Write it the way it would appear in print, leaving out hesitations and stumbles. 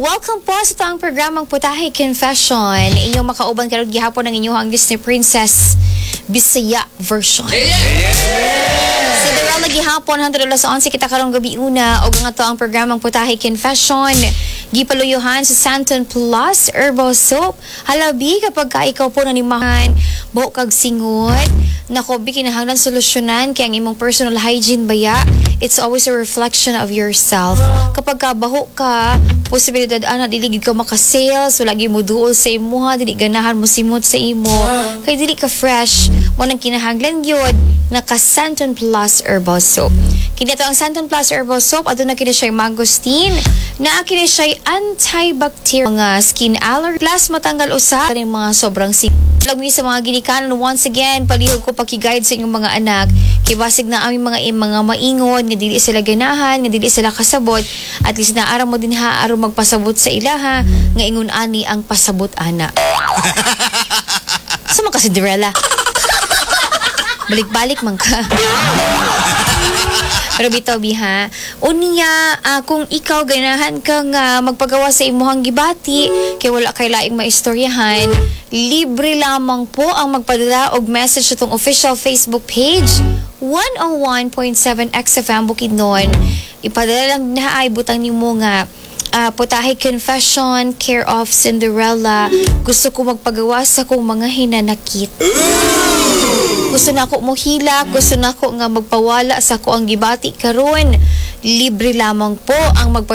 Welcome po sa atong programang Putahe Confession. Inyong makauban karon gihapon ang inyong Disney Princess Bisaya version. Cinderella gihapon hangtod alas 11 kita karong gabi una og ang ato ang programang Putahe Confession. Gipaluyuhan sa Santon Plus Herbal Soap. Halabi kapag ka ikaw po nanimahan, buhok kag singot, nako, bi, kinahanglan solusyonan kay ang imong personal hygiene baya, it's always a reflection of yourself. Kapag ka baho ka, posibilidad ana dili gid ka maka-sales, wala gyud mo duol sa imuha, dili ganahan mo simot sa imo, kay dili ka fresh. Mo nang kinahanglan gyud naka Santon Plus Herbal Soap. Kini to ang Santon Plus Herbal Soap, aduna kini siya mangosteen, naa kini siya antibacterial, mga skin allergy, plus matanggal usa kaning mga sobrang sing. Lagmi sa mga ginikanan, once again, palihog ko paki-guide sa inyong mga anak kay basig na aming mga maingon nga dili sila ganahan, nga dili sila kasabot. At least naara mo din ha aron magpasabot sa ilaha nga ingon ani ang pasabot ana. Sa mga Cinderella. Balik-balik man ka. Pero bitaw biha, unya, kung ikaw ganahan ka nga magpagawa sa imuhang gibati kay wala kay laing maistoryahan, libre lamang po ang magpadala og message sa atong official Facebook page 101.7 XFM Bukidnon. Ipadala lang na ay butang nimo nga Putahe Confession, care of Cinderella. Gusto ko magpagawa sa kong mga hinanakit. Gusto na ako mohilak, gusto na ako nga magpawala sa ako ang gibati karon. Libre lamang po ang magpa